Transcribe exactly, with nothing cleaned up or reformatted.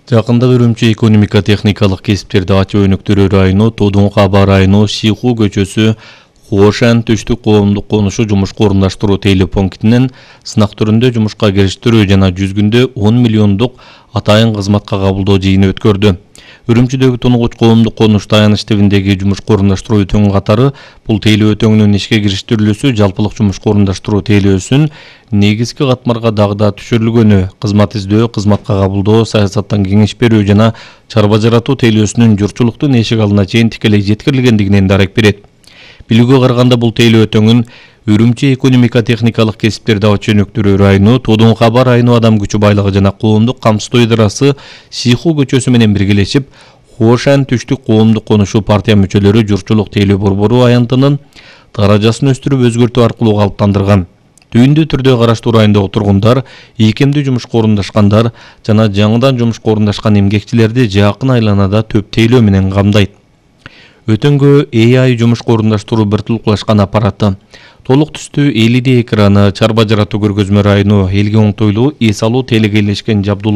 Жакында Үрүмчү экономика техникалык кесиптерди ачуу өнүктүрүү району Тодун Каба району Шиху көчөсү Хошан түштүк коомдук конушу жумушка орундаштыруу тейлөө пунктинен сынак түрүндө жумушка кириштирүү жана жүз күндө он миллиондук атайын кызматка кабылдоо жыйыны өткөрдү. Үрүмчүдөгү тунугуч коомдук конуш таяныч тибиндеги жумушка орундаштыруу өтөңү катары бул тейлөө өтөңүнүн ишке кириштирилүүсү жалпылык жумушка орундаштыруу тейлөөсүн негизги катмарга дагы да түшүрүлгөнү, кызмат издөө, кызматка кабылдоо, саясаттан кеңеш берүү жана чарба жаратуу тейлөөсүнүн журтчулуктун эшик алдына чейин тикелей жеткирилгендигинен дарек берет. Билүүгө караганда бул тейлөө өтөңүн Үрүмчү экономика техникалык кесиптерди ачуу өнүктүрүү району Тодун Каба району адам күчү байлыгы жана коомдук камсыздоо ыдырасы Шиху көчөсү менен биргелешип Хошан түштүк коомдук конушу партия мүчөлөрү журтчулук тейлөө борбору аянтынын даражасын өстүрүп өзгөртүү аркылуу калыптандырган. Түйүндүү түрдө караштуу райондогу тургундар, ийкемдүү жумушка орундашкандар жана жаңыдан жумушка орундашкан эмгекчилерди жакын айланада төп тейлөө менен камдайт. Өтөңгө A I жумушка орундаштыруу биртулукташкан аппараты, толук түстүү L E D экраны, чарба жаратуу көргөзмө району, элге оңтойлуу эс алуу телегейлешкен жабдуулар